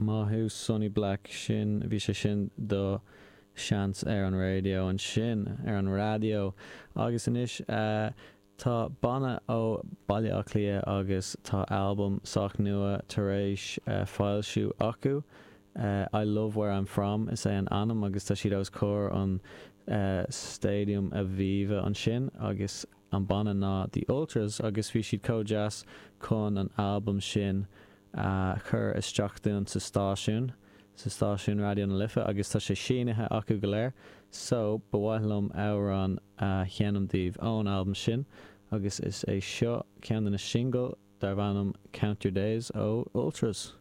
Maith thú Sonny Black, sin, bhí sé sin do seans ar an raidió ansin, ar an raidió. Agus anois tá banna ó Baile Átha Cliath agus tá albam sách nua tar éis foilsiú acu, I Love Where I'm From is é an ainm agus tá siad os comhair an Stadium Aviva ansin agus an banna ná The Ultras agus bhí siad chomh deas chun an albam sin a chur isteach dúinn sa stáisiún, sa stáisiún Raidió na Life agus tá sé sínithe acu go léir so ba mhaith liom amhrán a sheinm daoibh ón albam sin agus is é seo ceann de na singil darb ainm Count Your Days ó Ultras.